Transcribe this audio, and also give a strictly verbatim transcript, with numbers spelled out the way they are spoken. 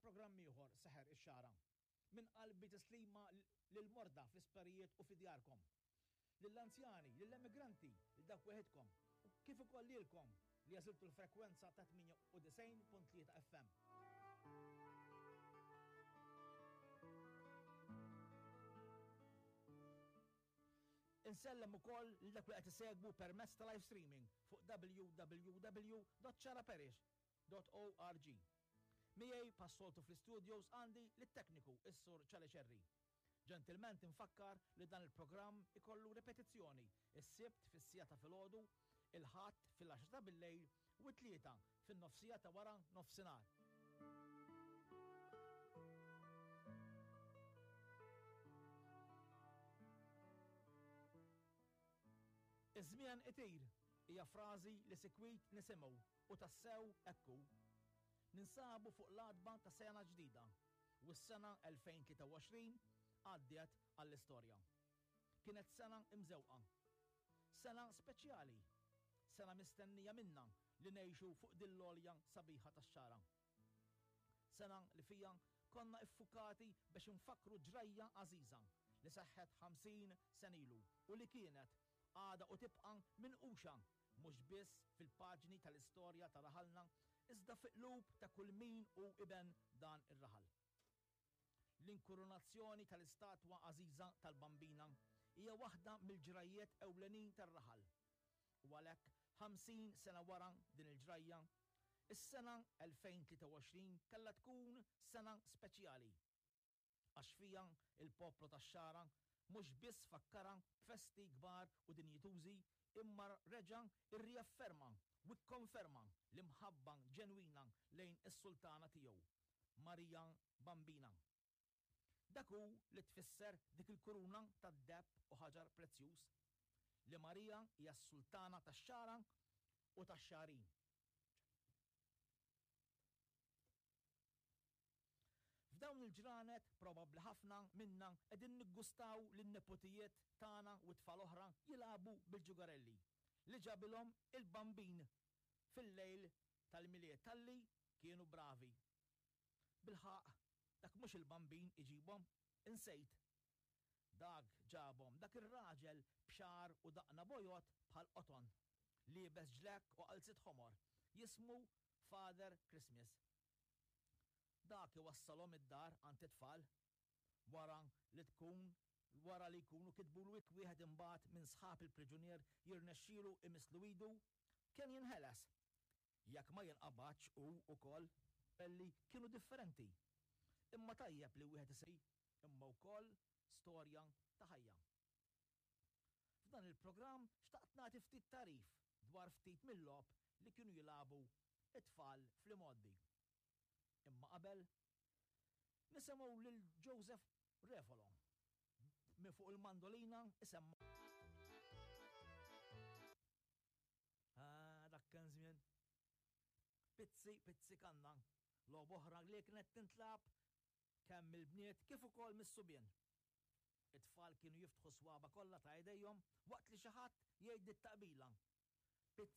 programm ieħor Seħer ix-Xagħra. Minn qalbi tislima lill-morda fl-isptarijiet u fi djarkom. Lill-anzjani, lill-emigranti, lil dawk weħidkom, u kif ukoll lilkom li għażiltu l-frekwenza ta' tmienja u disgħin punt tlieta F M. Insellem ukoll lil dak li qed isegwu permezz ta' live streaming fuq w w w dot xagħraparish dot org. Miegħi passoltu fl-studios għandi lit-tekniku is-Sur Ċali Ċerri. Ġentilment infakkar li dan il-programm ikollu ripetizzjoni is-Sibt fis-siegħa ta' filgħodu, il-Ħadd fil-għaxra ta' billejl u t-Tlieta fin-nofsija ta' wara nofsinhar. Iż-żmien itir hija frażi li sikwit nisimgħu u tassew ekku. Ninsabu fuq l-għatba ta' sena ġdida u s-sena elfejn tlieta u għoxrin għaddiet għall-istorja. Kienet sena imżewqa, sena speċjali, sena mistennija minna li ngħixu fuq din l-għolja sabiħa tax-Xagħra. Sena li fija konna iffukati biex nfakru ġrajja għażiża li seħħet ħamsin sen ilu u li kienet għada u tibqa' minquxa mhux biss fil-paġni tal-istorja ta' raħalna, iżda fi qlub ta' kull min hu iben dan ir-raħal. L-inkurunazzjoni tal-istatwa għażiża tal-Bambina hija waħda mill-ġrajjiet ewlenin tar-raħal. U għalhekk ħamsin sena wara din il-ġrajja, is-sena elfejn tlieta u għoxrin kellha tkun sena speċjali. Għax fija il-poplu tax-Xagħra mhux biss fakkara b'festi kbar u dinjitużi, imma reġa' irriafferma u kkonferma l-imħabba ġenwina lejn is-sultana tiegħu, Marija Bambina. Dak hu li tfisser dik il-kuruna tad-deheb u ħaġar prezzjuż, li Marija hija s-sultana tax-Xagħra u tax-Xagħrin. F'dawn il-ġranet probabbli ħafna minna qegħdin niggustaw lin-nepotijiet tagħna u tfal oħra jilagħbu bil-ġugarelli li ġabilhom il-Bambin fil-lejl tal-Milied talli kienu bravi. Bilħaq, dak mhux il-Bambin iġibhom, insejt. Dak ġabhom dak ir-raġel b'xagħar u daqna bojod bħal qoton, liebes ġlekk u qalzit ħomor, jismu Father Christmas. Dak iwassalhom id-dar għand it-tfal wara li tkun wara li jkunu kitbulu wieħed imbagħad minn sħab il-priġunier jirnexxielu imislu idu, kien jinħeles. Jekk ma jinqabadx hu ukoll, belli kienu differenti. Imma tajjeb li wieħed isej, imma wkoll storja ta' ħajja. F'dan il-programm xtaqt nagħti ftit tarif dwar ftit mill-logħob li kienu jilagħbu it-tfal fl-imgħoddi. Imma qabel nisimgħu lil Joseph Refolo minn fuq il-mandolina isemma. Ah, dak kien żmien. Pizzi, pizzi kanna. Logħba oħra li kienet tintlab kemm mill-bniet kif ukoll mis-subien. It-tfal kienu jiftħu swaba kollha ta' idejhom waqt li xi ħadd jgħid it-taqbila